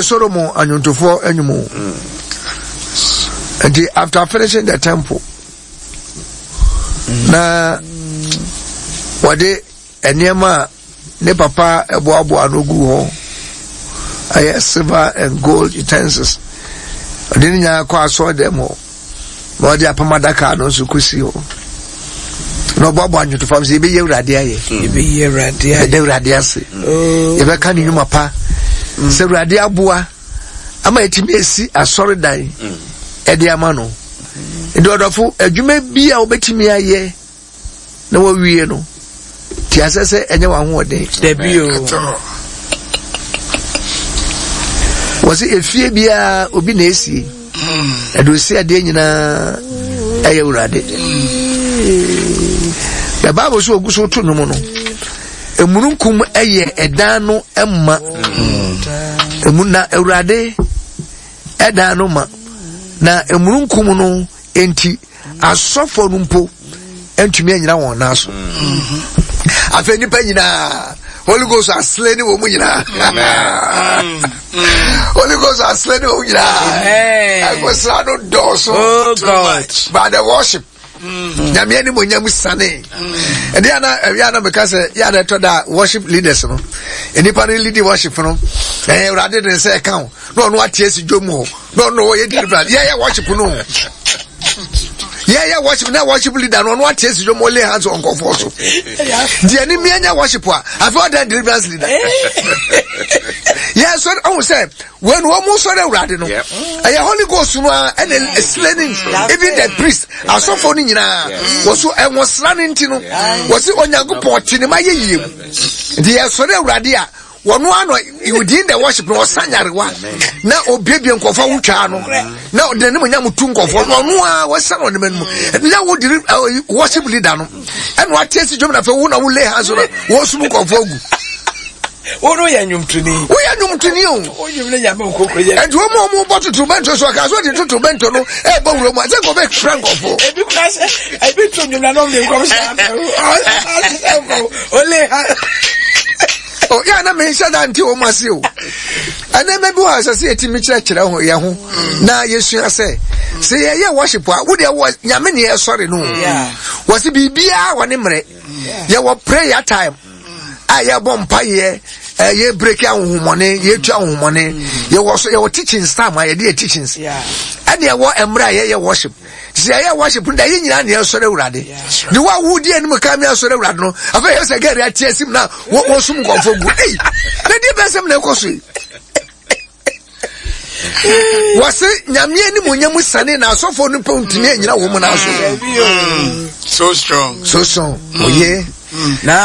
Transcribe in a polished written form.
Solomon anwontofoɔ anwom o. Nti after finishing the temple na wɔde nneɛma a ne papa boaboa ano gu hɔ ɛyɛ silver and gold utensils ɔde ne nyinaa kɔ asɔre dɛm hɔ na ɔde apam adaka no nso kɔsi hɔ na ɔboaboa nnwotofa sɛ yɛbɛyi awurade ayɛ yɛbɛyi awurade ayɛ yɛda awurade ase oh. yɛbɛka ne nnwuma pa mm. sɛ awurade aboa ama yɛtumi asi asɔredan mm. ɛde ama no nti ɔdɔfo adwuma bi a wobɛtumi ayɛ na wawie no te asɛ sɛ ɛnyɛ w'ahoɔden. Dabi o. Wɔsi efie biara obi na esie. Ɛde osi adeɛ nyinaa ɛyɛ wurade. The Bible so ogu so to nnwom no. Emununkum ɛyɛ ɛdan no ɛma. Emu na awurade ɛdan no ma. Na emununkum no Enti asɔfoɔ no mpo ntumi anyina wɔn nan so. Mm-hmm. Afei nnipa nyinaa Holy Ghost asele ne wɔn mu nyinaa. Holy Ghost asele ne wɔn mu nyinaa. Ɛkosra no dɔɔso. Oh God. By the worship. Mm-hmm. Nyame anim onyam sane. Ɛde ana ɛwia na meka sɛ yɛ ana ɛtɔ da worship leaders no. Nnipa no lead worship no. Ɛyɛ Awurade de nsa ɛka ho. Na ɔno ate asi dwom hɔ. No no yɛ deliverance yɛ yɛ worship no yɛ yɛ worship na worship leader no ɔno ate esi dwom ɔlay hands on nkɔfoɔ so deɛ ne mmea nya worship a afei ɔdan deliverance leader yɛ sɔ ɔho sɛ wɔn wɔn mu sɔrɔ awurade no ɛyɛ holy ghost no a ɛna esile ne even the priest asɔfo no nyinaa wɔ so ɛwɔ sra no nti no wɔ se onyankopɔn ɔte ne ma yɛ yie mu nti yɛ sɔrɔ awurade a wɔn ano within the worship na ɔsa nyarewa na obiebie nkɔfo awotwaa no na ɔde n'anim nyam tu nkɔfo na ɔno a wɔsa na ɔnam anim na wo di worship leader no ɛna wate asi dwom na afei wo na wo lay hands no wɔsum nkɔfo agu. Wo no yɛ nnwomtoni. Woyɛ nnwomtoni o. Wo nnwom ne nyame nkoko yɛ. Ɛnti wɔn a wɔn bɔ totorobɛnto so ɔka so de totorobɛnto no ɛbɔ wura mu a sɛ nkɔfo ekura nkɔfo. Ebi kura sɛ ebi to nnwom na n'ɔm de nkɔm hyɛ afɛ ɔsɛ nkɔm ole ha. Oh, yɛ na menhyɛ da nte wɔn ase o. Ɛnneɛma bi wɔ a ɛsɛ sɛ yɛtumi kyerɛkyerɛ ho yɛn ho na yɛsua sɛ sɛ yɛyɛ worship a wo deɛ wɔ nyame ne yɛsɔre no. Wɔsi biribiara wɔ ne mmerɛ. Yɛwɔ prayer time a yɛbɔ mpaeɛ yɛ break ahohomɔne yɛtu ahohomɔne. Yɛwɔ so yɛwɔ teachings time a yɛde yɛ teachings. Ɛne ɛwɔ mmerɛ a yɛyɛ worship. Sɛ yɛyɛ worship no da yɛ nyinaa ne yɛsɔre awurade. Ne wo a wodi anim ka me asɔre awurade no afei yɛ sɛ gɛri ate asim na wɔsum nkɔmfo gu. Ei, na deɛ bɛsɛm na ɛkɔ so yi. Wɔse nyame anim onyam sane na asɔfoɔ no pɛ ntumi anyina wɔn mu no so. So strong. So strong. Oye. Na